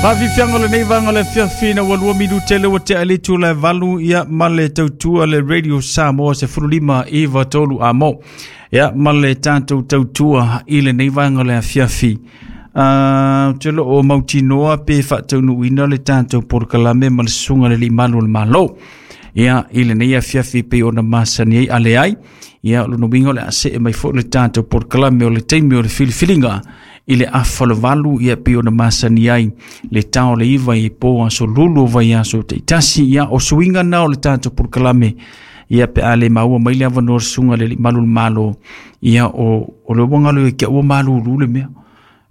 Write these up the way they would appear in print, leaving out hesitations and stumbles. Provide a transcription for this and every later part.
Faafiafiaga o lenei vaega o le afiafi ina ua 2 minute le ua tea le itula e 8, ia, ma le tautua le Radio Samoa 15 93 amo. Ia, ma le tatou tautua i lenei vaega o le afiafi. Te lo o mautinoa pe faataunuuina le tatou polokalame ma le susuga le limalu o le Malo. Ia, i lenei afiafi pe ona masani ai ale ai. Ia, o lona uiga o le a see mai foi le tatou polokalame o le taimi o le filifiliga i le 7:30, ia, pe ona masani ai le tao le 9 i po aso lulu o vai aso teitasi. Ia, o suiga na o le tatou polokalame, ia, pe a le maua mai le avanoa le susuga le malu le Malo, ia, o le uaga le ke ua malulu le mea.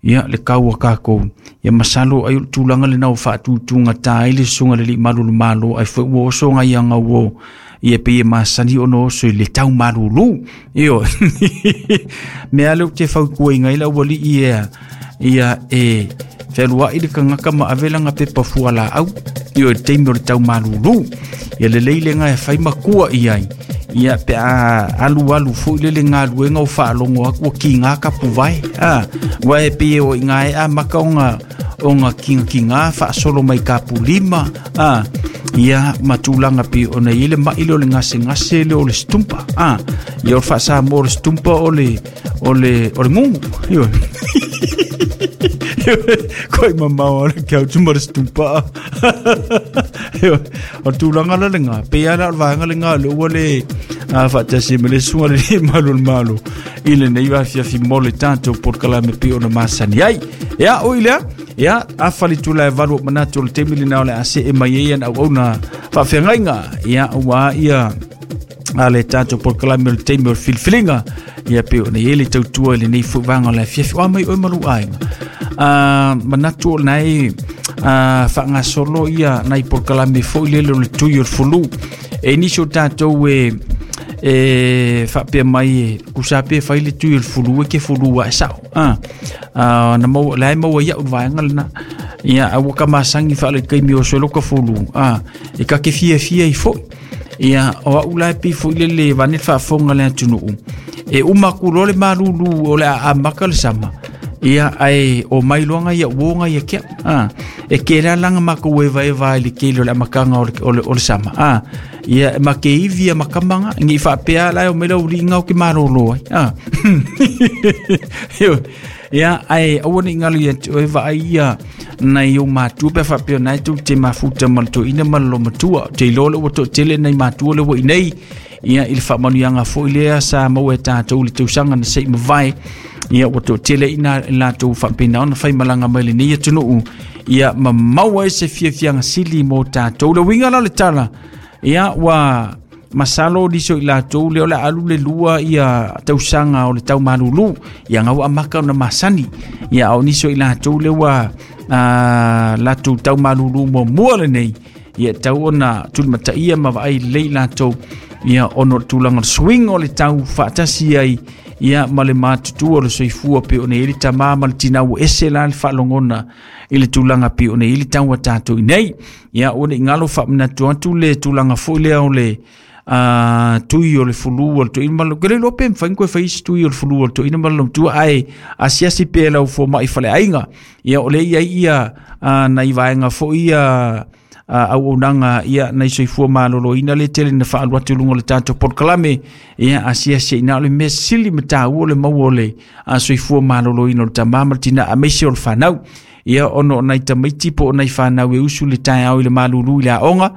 Ia, le kau a kākou. Ia, masalo ai o le tulaga lena o faatutuga tā ai le susuga le malu le Malo ai foi ua oso ngai anga ua ia pe e masani ona oso i le tau malulu. Io. Mea le te fau ngai la ua li ia ia e feluai le kangaka ma avelanga pepa fua la au. Io e taimi o le tau malulu. Ia le leile ngai fai makua i ai. Ia pe a alu alu foi le le galuega o faalogo aku ua kigā kapuvae a ua e pei o i gae a maka oga kigakigā faasolo mai kapulima a ia ma tulaga pei ona i le ma'i le o le gasegase le o le setumpa a ia o le faasamoa o le setumpa o le gugu io koi mamao o le kau tuma le setumpa o tulaga la lega pe ala o le vaega lega le ua le a faatasi ma le suga le malu le malo i lenei afiafi mo le tatou polokalame pe ona masani ai. Ia oi lea, ia 7:45 o manatu o le taimi lena o le a see mai ai ana auauna faafeagaiga, ia, ua ia a le tatou polokalame o le taimi o le filifiliga, ia pe ona i le tautua i lenei foi vaega o le afiafi o a mai oe malu aiga. Manatu o nai faagasolo ia nai polokalame foi lele o le tui o le fulu e nisi o tatou e faapea mai e kusa pe fai le tui o le fulu e ke fulu a e sao ah na mau lai mau ia u vaega lena ia a ua ka masangi fa le kaimi o solo ka fulu ah e ka ke fia fia i foi ia o au lai pi foi le le vane faafofoga le atunuu e uma ku le malulu o le a maka le sama ia ai o mai loanga ia uonga ia kia ah e ke la langa ma ko eva eva i le ke le makanga o le sama ah ia ma ke ivi ia makamanga ngi fa pea la o mela uri ngau ke malolo ai ah ia ai aua ni ngalu ia o eva ai ia nai o matua pe fa pea nai tu te mafuta ma to ina ma lo matua te lo le to tele nai matua le wo nei ia i le faamanuiaga foi lea sa maua e tatou le tausaga na se'i mavae, ia ua toatele ina latou faapena ona faimalaga mai lenei atunuu, ia ma maua ai se fiafiaga sili mo tatou. Le uiga la o le tala, ia ua masalo liso i latou le o le alu le lua ia tausaga o le tau malulu ia gau amaka ona masani, ia ao niso i latou le ua latou tau malulu muamua lenei, ia tau ona tulimataia ma vaai lelei latou ia ona o le tulaga o le suiga o le tau faatasi ai ia ma le matutua o le soifua pe ona i le tamā ma le tinā ua ese la le faalogona i le tulaga pe ona i le tau a tatou i nei. Ia ua ne i galo faamanatu atu le tulaga foi lea o le tui o le fulu o le toeaina ma le ke le iloa pe mafai ona toe fai isi tui o le fulu o le toeaina ma le matua ae asiasi pea lau fomai faleaiga. Ia o lea i ai ia nai vaega foi ia auaunaga ia nai soifua maloloina le tele na faalu atu i luga o le tatou polokalame, ia asiasi ina o le mea sili ma taua le maua o le soifua maloloina o le tamā ma le tinā aemaise o le fanau, ia ona o nai tamaiti po o nai fanau e usu le taeao i le malulu i le aoga,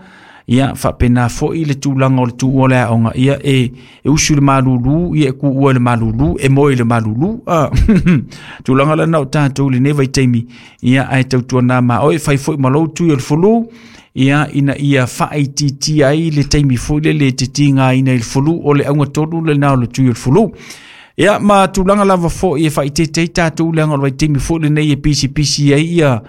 ia faapena foi le tulaga o le tuua o le aoga, ia e usu le malulu, ia e kuua i le malulu e moe i le malulu ah. Tulaga lana o tatou i lenei vaitaimi, ia ae tautuana ma oe fai foi ma lou tui o le fulu, ia ina ia faaitiitia ai le taimi foi lele e te tigaina i le fulu o le auga tonu lena o le tui o le fulu. Ia ma tulaga lava foi e faaiteite ai tatou leaga o le vaitaimi foi lenei e pisipisi ai ia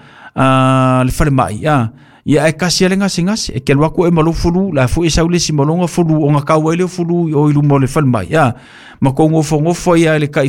le falemai a ia ae kasi a le gasegase e ke alu atu e ma lou fulu la foi e sau le isi ma lona fulu ona kau ai le fulu o i luma o le falemai a ma kou nofonofo ia le kai.